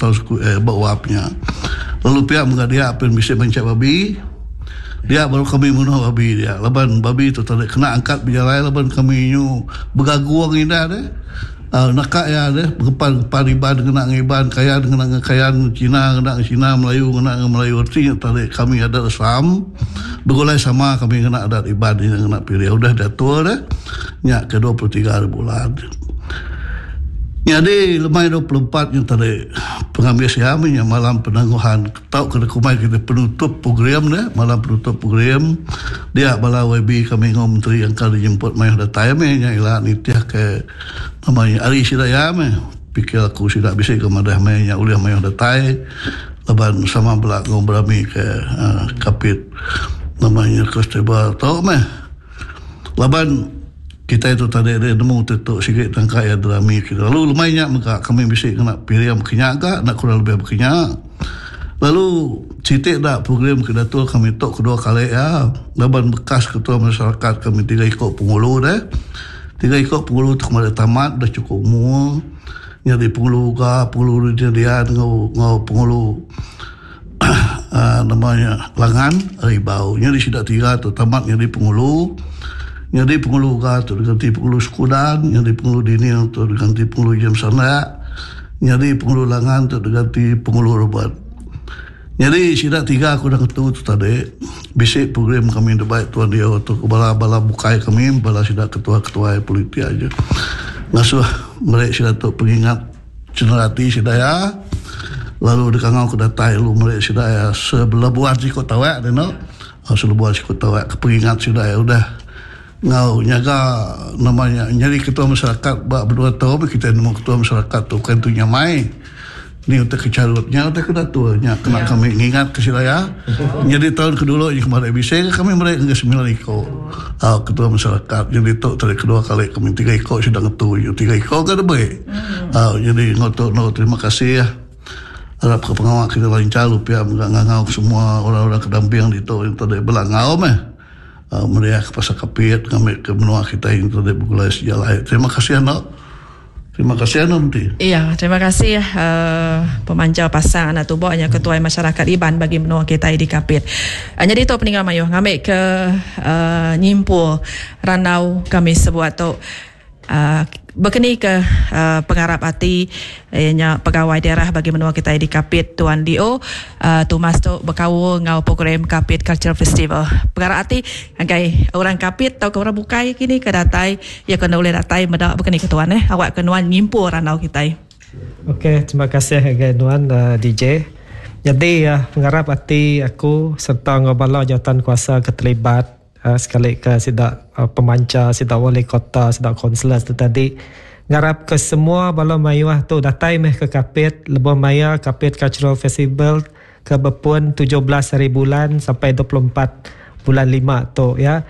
Town Square ba wap nya. Lalu pia mega dia pen bisi manchak babi. Dia baru kami munuh babi dia laban babi tu tadi kena angkat bejalai laban kami nyu begagung indah deh. Aaa naka iya deh ngepan-ngepan Iban ngena ngan Iban, Kayan ngena ngan Kayan, Cina ngena ngan Cina, Melayu ngena ngan Melayu. Reti nya tadi kami adat Islam begulai sama kami ngena adat Iban nya ngena pilih udah diatur deh nya ke 23 hari bulan. Nyadi lemai 24 nya tadi pengambis iya meh nya malam penangguhan. Tau ke dikumbai kitai penutup program deh, malam penutup program dia bala YB kami enggau menteri engka dijemput mayuh datai meh nya ila nitih ke nama nya ari sida iya meh. Pikir aku sida bisi ke madah meh nya ulih mayuh datai laban sama bela enggau berami ke uhh kapit nama nya festival tu meh. Laban kitai tu tadi deh nemu ti tu sigi tangka iya derami ke lalu lemai nya mega kami bisi ngena piring baka nya ga enda kurang lebih baka nya. Lalu siti da program ke diatur kami tu kedua kali iya laban bekas ketua masyarakat kami tiga iko pengulu deh. Tiga iko pengulu tu kemari tamat dah chukup umur nyadi pengulu ga pengulu Rejin Rian enggau enggau pengulu uhh nama nya Langan ari Bau. Nyadi sida tiga tu tamat nyadi pengulu. Nyadi pengulu Uga tu diganti pengulu Sekudan, nyadi pengulu Daniel tu diganti pengulu James Sandak, nyadi pengulu Langan tu diganti pengulu Robert. Nyadi sida tiga aku udah ngetu tu tadi bisi program kami dibai Tuan Dio tu ke bala bala bukai kami bala sida ketua-ketuai politik aja ngasuh meri sida tu pengingat Cenderati sida iya lalu dikangau ke datai lalu meri sida iya sebelebuan siku tawak dinu selebuan siku tawak ke pengingat sida iya udah enggau nyaga nama nya nyadi ketua masyarakat ba menua tu meh kitai nemu ketua masyarakat tu bukan tu nyamai. Ni utai ke charut nya utai ke datur nya kena kami ngingat ke sida iya. Nyadi taun ke dulu nya kemari bisi ke kami meri ngagai semilan iko au ketua masyarakat. Nyadi tu tadi kedua kali kami tiga iko sida ngetu nya tiga iko ga diberi. Au nyadi enggau tu endo terima kasih arap ke pengawa kita lancar pia mega ngangau ke semua orang-orang ke damping ditu enti bela enggau meh. Au meriah ke pasal kapit ngambi ke menua kitai enti begulai sejalai. Terima kasih endo. Terima kasih anu enti. Iya, terima kasih uh, pemanca pasang anak tuba nya ketuai masyarakat Iban bagi menua kitai di Kapit. Uh, nyadi tu peninggal mayuh ngambi ke uh, nyimpul randau kami sebuat tu. Uh, bekeni ke uh, pengarap ati iya nya pegawai daerah bagi menua kitai di Kapit Tuan DO uh, Thomas tu bekaul enggau program Kapit Cultural Festival. Pengarap ati Ngagai orang Kapit tauka orang bukai kini ke datai, iya ke enda ulih datai meda baka ni ke tuan eh. Awak ke nuan nyimpul randau kitai. Ok terima kasih ngagai nuan DJ. Nyadi pengarap ati aku serta enggau bala jawatan kuasa ke terlibat sekali ke sida pemancha, sida wali kota, sida kaunselor tu tadi ngarap ke semua bala mayuh tu datai meh ke Kapit lebuh maya Kapit Cultural Festival ke bepun 17 hari bulan sampai 24 bulan lima tu ya.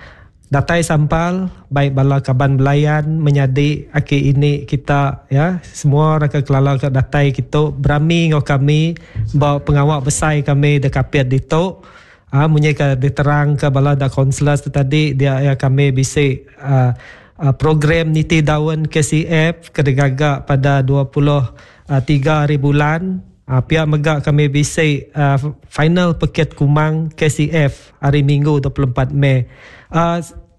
Datai sampal baik bala kaban belayan menyadi aki ini kita ya semua orang ke kelala ke datai kitu berami enggau kami ba pengawa besai kami de Kapit ditu. Ah munyi ke diterang ke bala da kaunselors tu tadi dia ya kami bisi ah program niti daun KCF ke digaga pada 23 hari bulan. Pia mega kami bisi final pekit kumang KCF hari Minggu 24 Mei.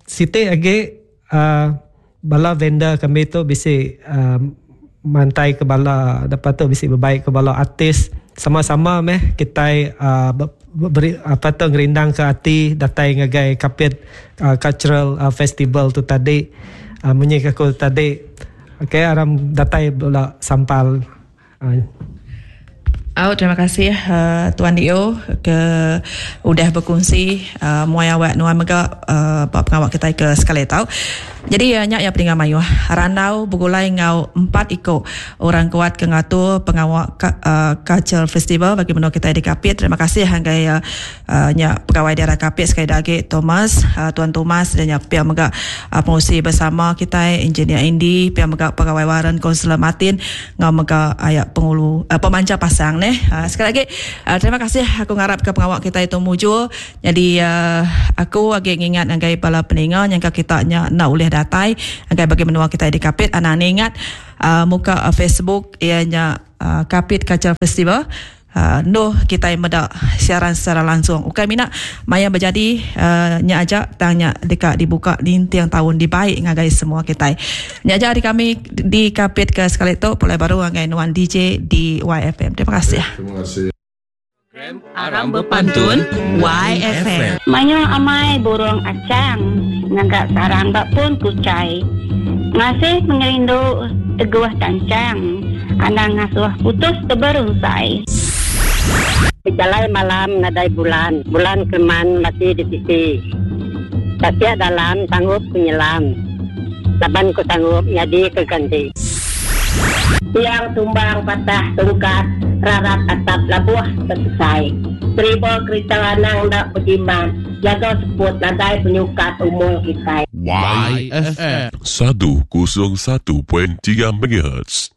Siti agi bala vendor kami tu bisi mantai ke bala lepas tu bisi bebai ke bala artis sama-sama meh kitai beri apa tu ngerindang ke ati datai ngagai Kapit Cultural Festival tu tadi. Munyi ke aku tadi okay aram datai bala sampal. Au terima kasih uh, Tuan Dio ke udah berkongsi uh, muai awak nuan mega uh, ba pengawa kitai ke sekali tau. Jadi uh, nya ya peninga mayuh. Randau begulai enggau empat iko orang kuat ke ngatur pengawa uh, Cultural Festival bagi menua kitai di Kapit. Terima kasih ngagai uh, Nya pegawai daerah Kapit sekali da agi Thomas, Tuan Thomas dan nya pia mega pengurusi bersama kitai Engineer Andy, pia mega pegawai waren Kaunselor Martin enggau mega aya pengulu pemancha pasang neh. Sekali agi terima kasih aku ngarap ke pengawa kitai tu mujur. Nyadi aku agi ngingat ngagai bala peninga nyangka kita nya enda ulih datai ngagai bagi menua kitai di Kapit anang ningat muka Facebook iya nya. Kapit Cultural Festival endur kitai meda siaran secara langsung. Ukai mina maya bejadi nya aja tang nya deka dibuka ninting taun dibai ngagai semua kitai. Nya aja ari kami di Kapit ke sekali tu pulai baru ngagai nuan DJ di YFM. Terima kasih. Terima kasih. Program Aram Bepantun YFM. Mayuh amai burung achang ngaga sarang ba pun kuchai. Ngasih pengerindu teguh tanchang anang ngasuh putus teberunsai. Bejalai malam nadai bulan, bulan keleman masih di tisi. Tasik dalam sanggup ku nyelam, laban ku sanggup nyadi ke ganti. Tiang tumbang patah tungkat rarat atap labuh tesesai. Deriba kerita anang enda bejimat jaga seput nadai penyukat umur kitai. YFM 101.3 MHz.